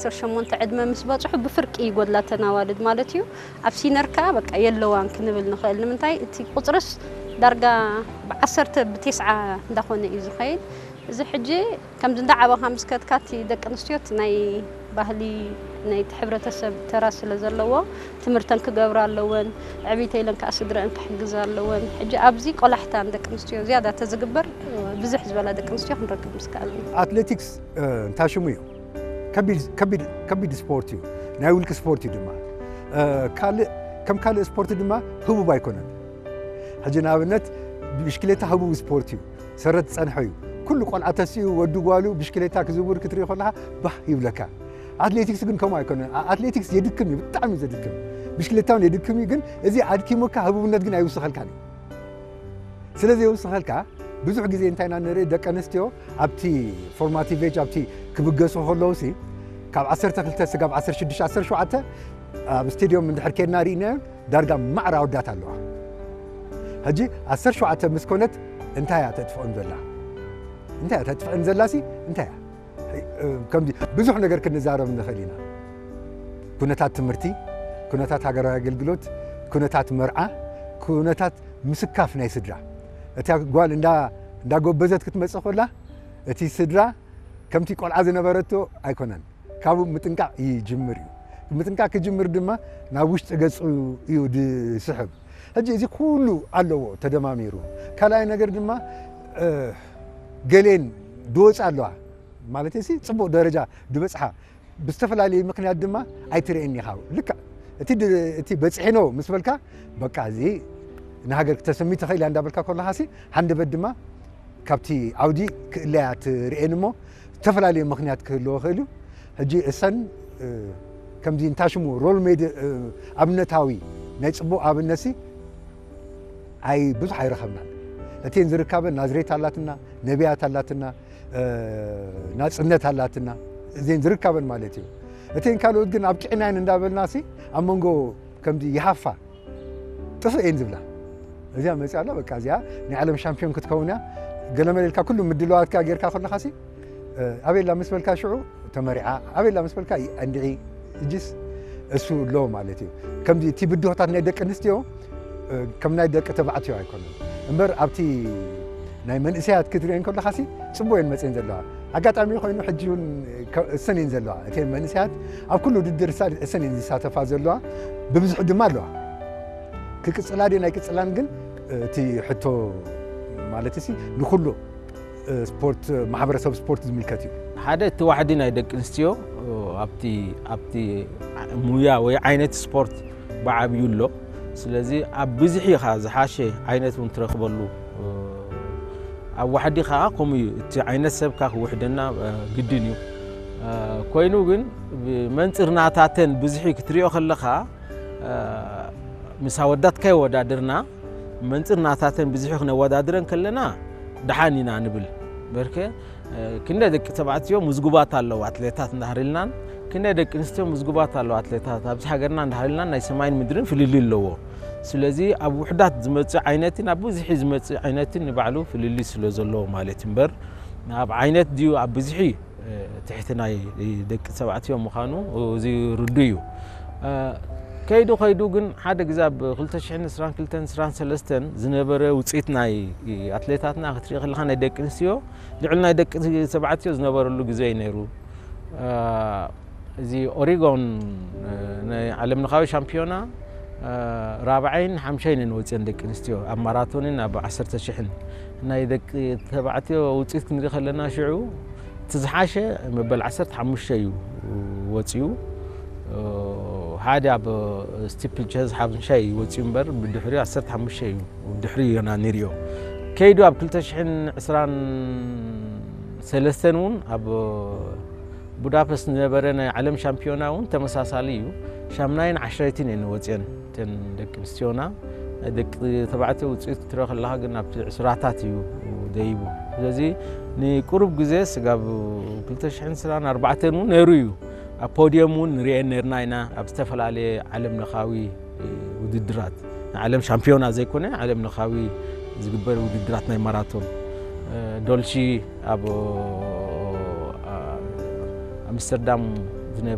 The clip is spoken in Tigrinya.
ዓሰርተ ሸሞንተ ዕድመ ምስ በጽሑ ብፍርቂ ይጎድላ ተን ኣዋልድ ማለት እዩ። ኣብ ሲነር ከኣ በቃ የለዋን ክንብል ንኽእል። ንምንታይ እቲ ቁጽርስ ዳርጋ ብዓሰርተ ብቴስዓ እንዳኾነ እዩ ዝኸይድ። እዚ ሕጂ ከምዚ እንዳዓበኻ ምስ ከድካ እቲ ደቂ ኣንስትዮ እቲ ናይ ባህሊ ናይቲ ሕብረተሰብ ተራ ስለ ዘለዎ ትምህርተን ክገብራ ኣለወን። ዕብይተ ኢለን ከኣ ስድረአን ክሕግዛ ኣለወን። ሕጂ ኣብዚ ቆላሕታ ንደቂ ኣንስትዮ ዝያዳ ተዝግበር ብዝሕ ዝበላ ደቂ ኣንስትዮ ክንረክብ ምስ ከኣልና። ኣትሌቲክስ እንታይ ሽሙ እዩ? ከቢድ ስፖርት እዩ። ናይ ውልቂ ስፖርት እዩ ድማ። ካልእ ከም ካልእ ስፖርት ድማ ህቡብ ኣይኮነን። ሕጂ ንኣብነት ብሽክሌታ ህቡብ ስፖርት እዩ። ሰረት ዝጸንሐ እዩ። ኩሉ ቆልዓ ተሲኡ ወዲ ጓሉ ብሽክሌታ ክዝውር ክትርኢ ከለኻ ባህ ይብለካ። ኣትሌቲክስ ግን ከምኡ ኣይኮነን። ኣትሌቲክስ የድክም እዩ፣ ብጣዕሚ ዘድክም። ብሽክሌታ እውን የድክም እዩ፣ ግን እዚ ኣድኪሙካ ህቡብነት ግን ኣይውስኸልካን እዩ። ስለ ዘይውስኸልካ ብዙሕ ግዜ እንታይ ኢና ንርኢ፣ ደቂ ኣንስትዮ ኣብቲ ፎርማቲቭ ኤጅ ኣብቲ ክብገሱ ከለውሲ ካብ ዓሰርተ ክልተ ስጋብ ዓሰርተ ሽዱሽተ ዓሰርተ ሸውዓተ ኣብ ስቴድዮም እንድሕር ኬድና ርኢናዮ ዳርጋ ማዕረ ኣወዳት ኣለዋ። ሕጂ ዓሰርተ ሸውዓተ ምስ ኮነት እንታይ እያ ተጥፍኦም ዘላ? እንታይ እያ ተጥፍአን ዘላሲ እንታይ እያ? ከምዚ ብዙሕ ነገር ክንዛረብ ንኽእል ኢና። ኩነታት ትምህርቲ፣ ኩነታት ሃገራዊ ኣገልግሎት፣ ኩነታት መርዓ፣ ኩነታት ምስካፍ ናይ ስድራ። እታ ጓል እንዳ እንዳጎበዘት ክትመጽእ ከላ እቲ ስድራ ከምቲ ቆልዓ ዝነበረቶ ኣይኮነን። ካብኡ ምጥንቃቕ ይጅምር እዩ። ምጥንቃቕ ክጅምር ድማ ናብ ውሽጢ ገጹ እዩ ዝስሕብ። ሕጂ እዚ ኩሉ ኣለዎ ተደማሚሩ። ካልኣይ ነገር ድማ ገሌን ድወፃ ኣለዋ ማለት ሲ ፅቡቕ ደረጃ ድበፅሓ ብዝተፈላለዩ ምክንያት ድማ ኣይትርእየን ኢኻ። ልክዕ እቲ ድ- እቲ በፂሐኖ ምስ በልካ በቃ እዚ ንሃገር ክተሰሚ ተኽእል እያ እንዳበልካ ከለኻ ሲ ሃንደበት ድማ ካብቲ ዓውዲ ክእለያ ትርእየን እሞ ዝተፈላለዩ ምክንያት ክህልዎ ይኽእል እዩ። ሕጂ እሰን ከምዚ እንታሽሙ ሮል ሜድ ኣብነታዊ ናይ ፅቡቕ ኣብነት ሲ ኣይ ብዙሕ ኣይረኸብናን። እተን ዝርካበን ናዝሬት ኣላትና፣ ነቢያት ኣላትና፣ ናፅነት ኣላትና እዘን ዝርካበን ማለት እዩ። እተን ካልኦት ግን ኣብ ቂዕናየን እንዳበልና ሲ ኣብ መንጎ ከምዚ ይሃፋ ጥፍእ እየን ዝብላ። እዚኣ መፅያ ኣላ በቃ እዚኣ ናይ ዓለም ሻምፒዮን ክትከውን እያ። ገለመለ ኢልካ ኩሉ ምድለዋትካ ጌርካ ከለኻ ሲ ኣበላ ምስ በልካ ሽዑ ተመሪዓ ኣበላ ምስ በልካ እንድዒ እጅስ እሱ ኣሎ ማለት እዩ። ከምዚ እቲ ብድሆታት ናይ ደቂ ኣንስትዮ ከም ናይ ደቂ ተባዕትዮ ኣይኮነን እምበር ኣብቲ ናይ መንእሰያት ክትሪኦ ከለኻ ሲ ፅቡቅ እየን መፅየን ዘለዋ። ኣጋጣሚ ኮይኑ ሕጂ እውን እሰን እየን ዘለዋ። እቲ መንእሰያት ኣብ ኩሉ ውድድር እሰን እየን ዝሳተፋ ዘለዋ። ብብዝሒ ድማ ኣለዋ። ክቅፅላ ድየን ኣይቅፅላን ግን እቲ ሕቶ ማለት ሲ ንኩሉ ስፖርት ማሕበረሰብ ስፖርት ዝምልከት እዩ። ሓደ እቲ ዋሕዲ ናይ ደቂ ኣንስትዮ ኣብቲ ኣብቲ ሙያ ወይ ዓይነት ስፖርት ብዓብዩ ኣሎ። ስለዚ ኣብ ብዝሒ ኢኻ ዝሓሸ ዓይነት እውን ትረኽበሉ። ኣብ ዋሕዲ ከዓ ከምኡ እዩ። እቲ ዓይነት ሰብካ ክውሕደና ግድን እዩ። ኮይኑ ግን መንፅር ናታተን ብዝሒ ክትሪኦ ከለኻ ምስ ኣወዳት ከይወዳድርና መንፅር ናታተን ብዝሒ ክነወዳድረን ከለና ደሓን ኢና ንብል። በርከ ክንደ ደቂ ተባዕትዮ ምዝጉባት ኣለዉ ኣትሌታት እንዳሃር ኢልናን ክንደ ደቂ ኣንስትዮ ምዝጉባት ኣለዉ ኣትሌታት ኣብዚ ሃገርና እንዳሃር ኢልናን ናይ ሰማይን ምድርን ፍልልይ ኣለዎ። ስለዚ ኣብ ውሕዳት ዝመፅእ ዓይነትን ኣብ ብዝሒ ዝመፅእ ዓይነትን ንባዕሉ ፍልልይ ስለ ዘለዎ ማለት እምበር ኣብ ዓይነት ድዩ ኣብ ብዝሒ ትሕቲ ናይ ደቂ ተባዕትዮ ምዃኑ እዚ ርዱ እዩ። ከይዱ ከይዱ ግን ሓደ ግዜ ኣብ ክልተ ሽሕን ዕስራን ክልተን ዕስራን ሰለስተን ዝነበረ ውፅኢት ናይ ኣትሌታትና ክትርኢ ከለኻ ናይ ደቂ ኣንስትዮ ልዕሊ ናይ ደቂ ተባዕትዮ ዝነበረሉ ግዜ እዩ ነይሩ። እዚ ኦሪጎን ናይ ዓለም ለኻዊ ሻምፒዮና ራብዓይን ሓምሻይን እየን ወፅየን ደቂ ኣንስትዮ ኣብ ማራቶንን ኣብ ዓሰርተ ሽሕን ናይ ደቂ ተባዕትዮ ውፅኢት ክንርኢ ከለና ሽዑ እቲ ዝሓሸ መበል ዓሰርተ ሓሙሽተ እዩ ወፂኡ። ሓደ ኣብ ስቲፕል ቸዝ ሓምሻይ ወፂኡ እምበር ብድሕሪኡ ዓሰርተ ሓሙሽተ እዩ ድሕሪ ዮና ንሪኦ ከይዱ ኣብ ክልተ ሽሕን ዕስራን ሰለስተን እውን ኣብ ቡዳፐስት ዝነበረ ናይ ዓለም ሻምፒዮና እውን ተመሳሳሊ እዩ። ሻምናይን ዓሽረይትን እየን ወፅየን እተን ደቂ ኣንስትዮና። ናይ ደቂ ተባዕትዮ ውፅኢት ክትረአ ከለኻ ግን ኣብቲ ዕስራታት እዩ ደይቡ። ስለዚ ንቁሩብ ግዜ ስጋብ ክልተ ሽሕን ዕስራን ኣርባዕተን እውን ነይሩ እዩ። ኣብ ፖድየም እውን ንርእየን ነርና ኢና ኣብ ዝተፈላለየ ዓለም ለኻዊ ውድድራት ንዓለም ሻምፒዮና ዘይኮነ ዓለም ለኻዊ ዝግበር ውድድራት ናይ ማራቶን ዶልሺ ኣብ ኣምስተርዳም